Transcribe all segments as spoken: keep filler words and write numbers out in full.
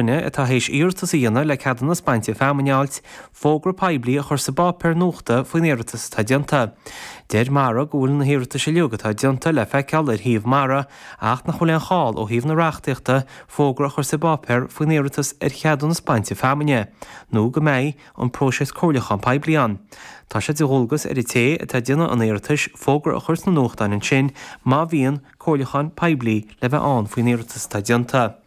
duine atá théis iarratas a dhéanamh le ceadúnas bainte feamainne a fháilt, fógra poiblí a chur sa bpáipéar nuachta faoin iarratas atá déanta. Deir Mara go bhfuil na hiarratais uilig atá déanta le feiceáil ar shuíomh Mara ach nach bhfuil aon chall ó thaobh na reachtaíochta fógra a chur sa bpáipéar faoin iarratas ar cheadúnas bainte feamainne, nó go mbeidh an próiseas comhairliúcháin poiblí ann. Tá sé de dhualgas ar an té atá ag déanamh an iarratais fógra a chur sna nuachtáin ansin má bhíonn comhairliúchán poiblí le bheith ann faoin iarratas atá déanta.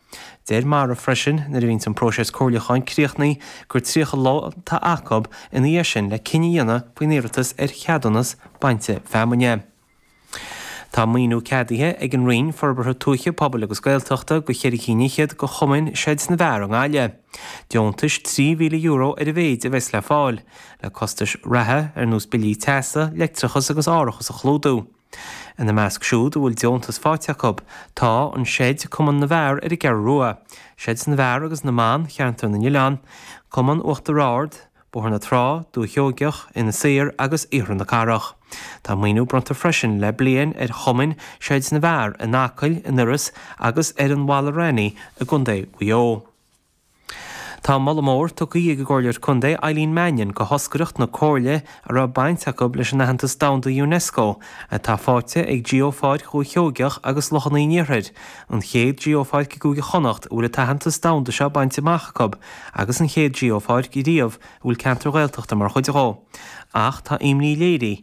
Deir Mara freisin nuair a bhíonns an próiseas comhairliúcháin críochnaithe gur tríocha lá atá acu ina dhiaidh sin le cinneadh a dhéanamh faoin iarratas ar cheadúnas bainte feamainne. Tá maoiniú ceadaithe ag an Roinn Forbartha Tuaithe, Pobail agus Gaeltachta do cheithre cinn fhichead de chumainn Seids na bhFear i nGaillimh. Deontais trí mhíle euro ar a mhéid a bheas le fáil, le costais reatha ar nós billí teasa, leictreachas agus árachas a chlúdú. Ina measc siúd a bhfuil deontas faighte acu, tá an Seid Cumann na bhFear ar an gCeathrú Rua, Seids na bhFear agus na mBan Cheantar na nOileán, Cumann Uachtar Ard, Bóthar na Trá, Dúiche Sheoigeach, Inis Oírr agus Iarthar na Cathrach. Tá maoiniú bronnta freisin le bliain ar chumainn Seids na bhFear in Acaill, in Iorras agus ar an Mhala Raithní i gContae Mhaigh Eo. Tá moladh mór tugtha ag an gComhairleoir Contae Eileen Mannion do thoscaireacht na Comhairle a raibh baint acu leis an aitheantas domhanda UNESCO atá faighte ag Geopháirc Dhúiche Sheoigeach agus Lochanna an Iarthair, an chéad Geopháirc i gCúige Chonnacht a bhfuil an t-aitheantas domhanda seo bainte amach acu agus an chéad Geopháirc riamh a bhfuil ceantar Ghaeltachta mar chuid dhó. Ach tá imní léirithe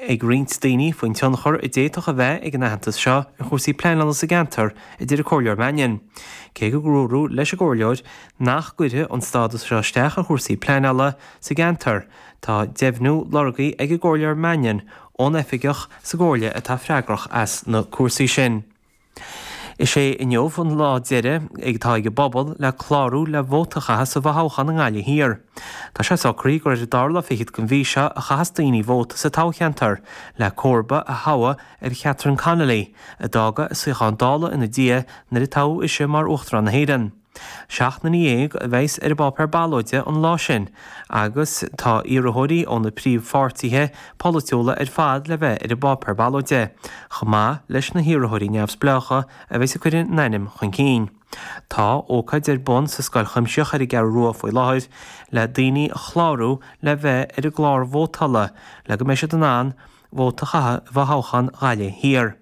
ag roinnt daoine faoin tionchar a d'fhéadfadh a bheith ag an aitheantas seo ar chúrsaí pleanála sa gceantar, a deir an Comhairleoir Mannion. Cé go ndúradh leis an gComhairleoir nach gcuirfidh an stádas seo isteach ar chúrsaí pleanála sa gceantar, tá deimhniú lorgtha ag an gComhairleoir Mannion ón oifigeach sa gComhairle atá freagrach as na cúrsaí sin. Is é inniu an lá deiridh atá ag an bpobal le clárú le vóta a chaitheamh sa bhfothoghchán i nGaillimh Thiar. Tá sé socraithe gur ar an dara lá fichead den mhí seo a chaithfeas daoine vóta sa toghcheantar le comharba a thoghadh ar Catherine Connolly, a d'fhág a suíochán Dála ina diaidh nuair a toghadh ise mar Uachtarán na hÉireann. Seacht nduine dhéag a bheas ar an bpáipéar ballóide an lá sin agus tá iarrthóirí ó na príomhpháirtithe polaitiúla ar fad le bheith ar an bpáipéar ballóide, chomh maith leis na hiarrthóirí neamhspleácha a bheas ag cur a n-ainm chun cinn. Tá ócáid ar bun sa Scoil Chuimsitheach ar an gCeathrú Rua faoi láthair le daoine a chlárú le bheith ar an gclár vótála le go mbeidh siad in ann vóta a chaitheamh i bhfothoghchán Ghaillimh Thiar.